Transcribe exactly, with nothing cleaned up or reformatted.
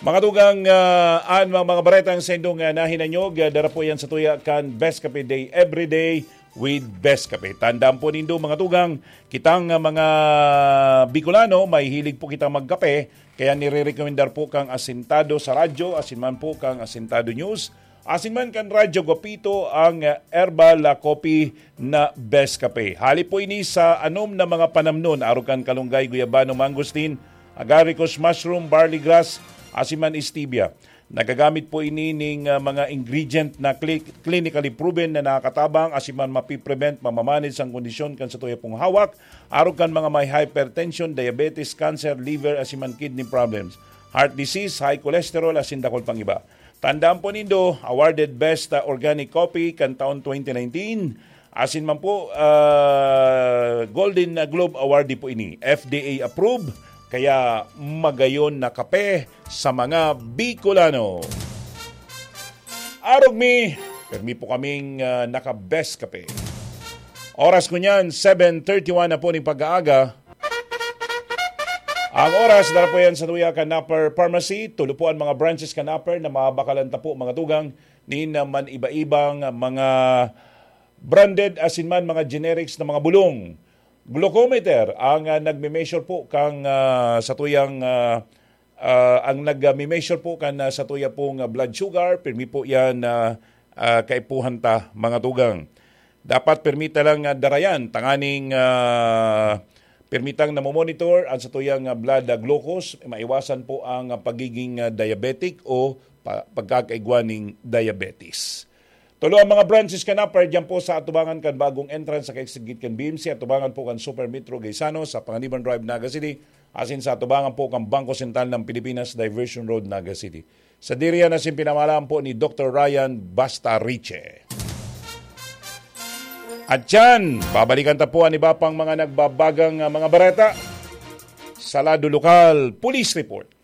Mga tugang, ah, an mga, mga baretang sa indong, ah, nahinanyog, ah, dara po yan sa tuya kan Best Kape Day, every day with Best Kape. Tandaan po nindo, mga tugang, kitang, ah, mga Bicolano, may hilig po kitang magkape, kaya nire-recommendar po kang Asintado sa radyo, asin man po kang Asintado News, asin man kan Radyo Guapito ang, ah, Herbal, ah, Coffee na Best Kape. Hali po ini sa anom na mga panamnon, arog kan kalunggay, guyabano, mangosteen, agaricus mushroom, barley grass, asin man stevia. Nagagamit po ini ning, ah, mga ingredient na cli-, clinically proven na nakakatabang asin man mapiprevent, mamamanage ang kondisyon kan sa tuya pong hawak, arog kan mga may hypertension, diabetes, cancer, liver, asin man kidney problems, heart disease, high cholesterol, asin dakul pang iba. Tandaan po nindo, awarded Best, ah, Organic Coffee kan taon twenty nineteen. Asin man po, ah, Golden Globe Awardee po ini. F D A approved, kaya magayon na kape sa mga Bicolano. Arog mi, permi po kaming, ah, naka-Best Kape. Oras ko niyan, seven thirty-one na po ning pag-aaga. Ang oras, dara po yan sa tuya kan Napper Pharmacy. Tulo po ang mga branches kan Napper na mabakalan ta po, mga tugang, nin, ah, man iba-ibang, ah, mga branded asin man mga generics na mga bulong. Glucometer ang, ah, nagme-measure po kang, ah, sa tuyang, ah, ah, ang nagme-measure po kan, ah, sa tuya pong, ah, blood sugar, pirmi po yan, ah, ah, kaipuhan ta, mga tugang. Dapat pirmi ta lang, ah, dara yan, tanganing, ah, pirmi tang namomonitor ang sa tuyang, ah, blood, ah, glucose, maiwasan po ang, ah, pagiging, ah, diabetic o pa-, pagkakaigwa ning diabetes. Tulo ang mga branches kan Napper diyan po sa atubangan kan bagong entrance sa kaigsigit kan B M C, atubangan po kan Super Metro Gaisano sa Panganiban Drive, Naga City, asin sa atubangan po kan Bangko Sentral ng Pilipinas, Diversion Road, Naga City. Sadiri yan asin pinamalaan po ni Doktor Ryan Basta Riche. At yan, babalikan ta po ang iba pang mga nagbabagang, ah, mga bareta sa Lado Lokal Police Report.